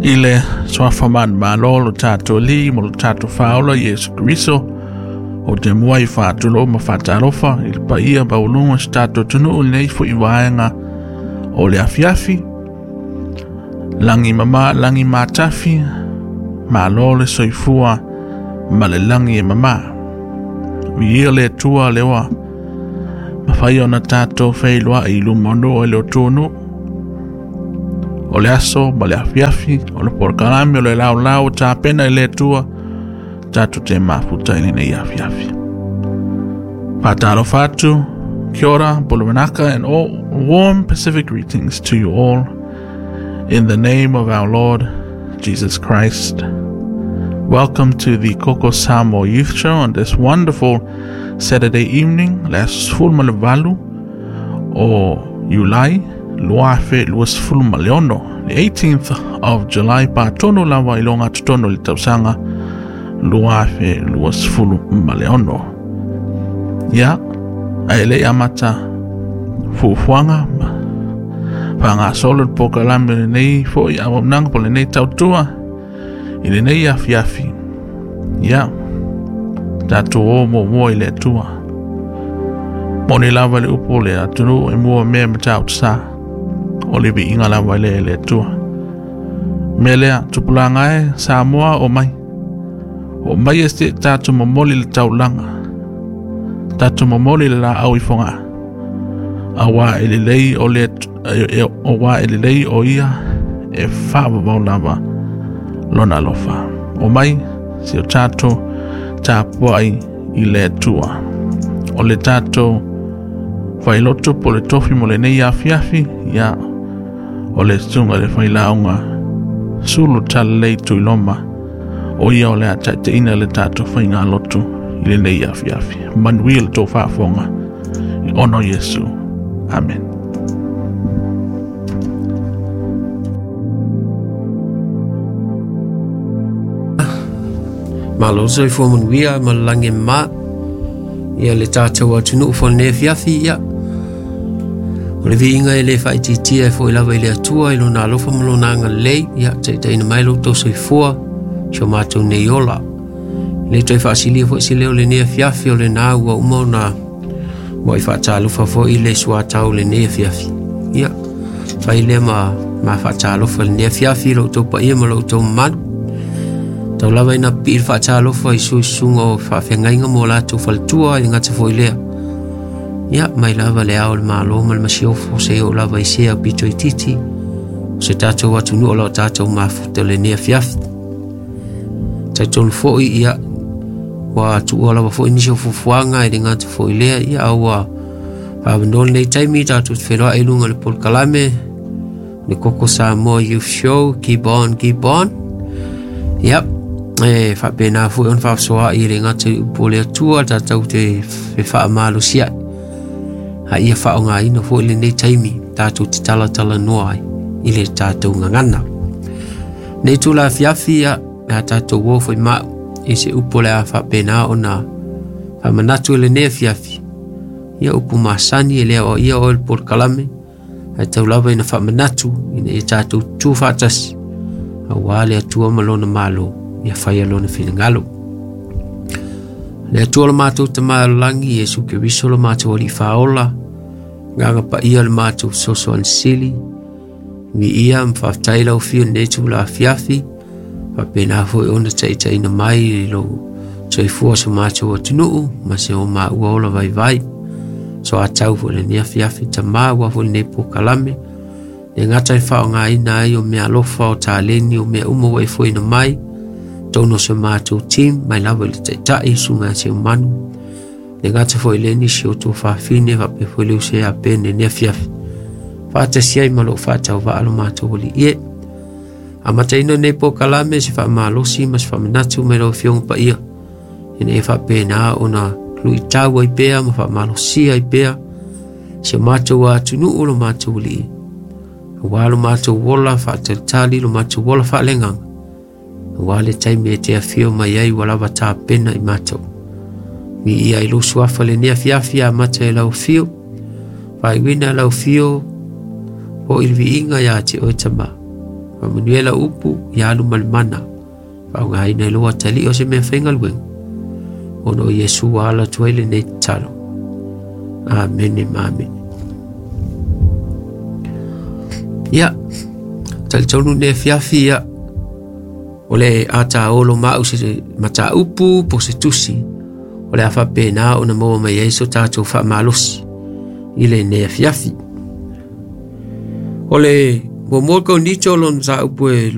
I le suafa manumalo lo tatou Alii ma lo tatou Faaola Iesu Keriso, ou te muai faatulou ma faatalofa i le paia maualuga o si tatou atunuu i lenei foi vaega o le afiafi. Lagi mama, lagi matafi, malo le soifua ma le lagi e mama. Viia le Atua lea ua mafai ona tatou feiloai i luma o nuu e le atunuu. O le aso ma le afiafi, o le polokalame o le laolao ua tapena i le Atua, tatou te mafuta i lenei afiafi. Faatalofa atu, kia ora, bolumanaka, and all warm Pacific greetings to you all in the name of our Lord Jesus Christ. Welcome to the Koko Samoa Youth Show on this wonderful Saturday evening, le aso 18 o Iulai, 2026, the 18th of July, patonu lava i loga totonu i le tausaga 2026. Ia, ae le i amata fuafuaga ma faagasolo le polokalame o lenei foi auaunaga po o lenei tautua i lenei afiafi. Ia, tatou o muamua i le Atua. Moni lava le upu o le atunuu e mua mea matautu sa. O le viiga lava lea i le Atua. Mea lea, tupulaga e, Samoa o mai. O mai e se tatou momoli le taulaga. Tatou momoli le laau i Fogaa. Auā e lelei o le auā e lelei o ia e faavavau lava lona alofa. O mai si o tatou tapuai i le Atua. O le tatou failotu po o le tofi mo lenei afiafi, ia, o le susuga i le failauga Sulu Talalelei Tuiloma, o ia o le a taitaiina le tatou faigalotu i lenei afiafi. Manuia le tou faafofoga ona o Iesu. Amen. Malo le soifua manuia ma le lagi e mama ia le tatou atunuu fo lenei afiafi ia. O le viiga e le faaitiitia e foi lava i le Atua i lona alofa ma lona agalelei ia taitaiina mai lo outou soifua si o matou nei ola. E le toe faasilia foi se leo lenei afiafi o lena ua uma ona muai faatalofa foi le suatau lenei afiafi. Ia, fai lea ma ma faatalofa lenei afiafi i lo outou paia ma lo outou mamalu. Tau lava ina pipii le faatalofa i suisuga o faafeagaiga mo latou faletua i le gata foi lea. Ia, mai lava le ao o le Malo ma le Masiofo seia oo lava i sea pito itiiti o se tatou atunuu o lo o tatou mafuta lenei afiafi. Talitonu foi, ia, ua tuua lava foi nisi o fuafuaga e le gata foi lea, ia, a ua faavanoa lenei taimi tatou te feiloai i luga o le polokalame le Koko Samoa Youth Show, keep on, keep on. Yep, e faapena foi ona faasoaai e le gata i upu o le Atua tatou te fefaamalosi ai. A ia faaaogaina foi lenei taimi tatou te talatalanoa ai i le tatou gagana. Nei itula afiafi ia, le a tatou o foi mau i se upu o le a faapena ona faamanatu i lenei afiafi. Ia upu masani e le aoaia oe le polokalame, ae tau lava ina faamanatu ina ia tatou tu faatasi aua le Atua ma lona Malo ia faia lona finagalo. Le Atua lo matou Tama o le lagi, Iesu Keriso lo matou Alii Faaola, Agaga Paia le matou Fesoasoani Sili, Viia ma faafetai lau Afio i lenei itula afiafi, faapena foi ona taitaiina mai i lou soifua o so matou atunuu ma se o maua ola vaivai. Soatau foi lenei afiafi Tama aua foi lenei polokalame, le gata e faaaogaina ai o mea alofa o taleni o mea uma ua e foina mai, totonu o so matou team, mai lava i le Taitai, Susuga ia Seumanu, le gata foi le nisi o tuafafine faapea foi le uso ia Pene lenei afiafi. Faatasi ai ma lou faatauvaa lo matou alii e. Amataina lenei polokalame se faamalosi ma se faamanatu mai lau Afioga Paia, ina ia faapena ona luitau ai pea ma faamalosia ai pea si o matou atunuu lo matou alii, aua lo matou ola faatalitali, lo matou ola faaleagaga, aua le taimi e te afio mai ai ua lava tapena i matou. Viia i lou suafa lenei afiafi amata e lau afio, faaiuina e lau afio o i le viiga ia te oe Tama. Faamanuia lau upu ia alu ma le mana, faaaogaina i lou atalii o se mea faigaluega, ona o Iesu ua ala atu ai lenei tatalo. Amene ma amene. Ia, talitonu lenei afiafi, ia, o le a taolo ma au se mataupu po se tusi, o le a faapena ona maua mai ai so tatou faamalosi i lenei afiafi. O le muamua Korinito lona mataupu e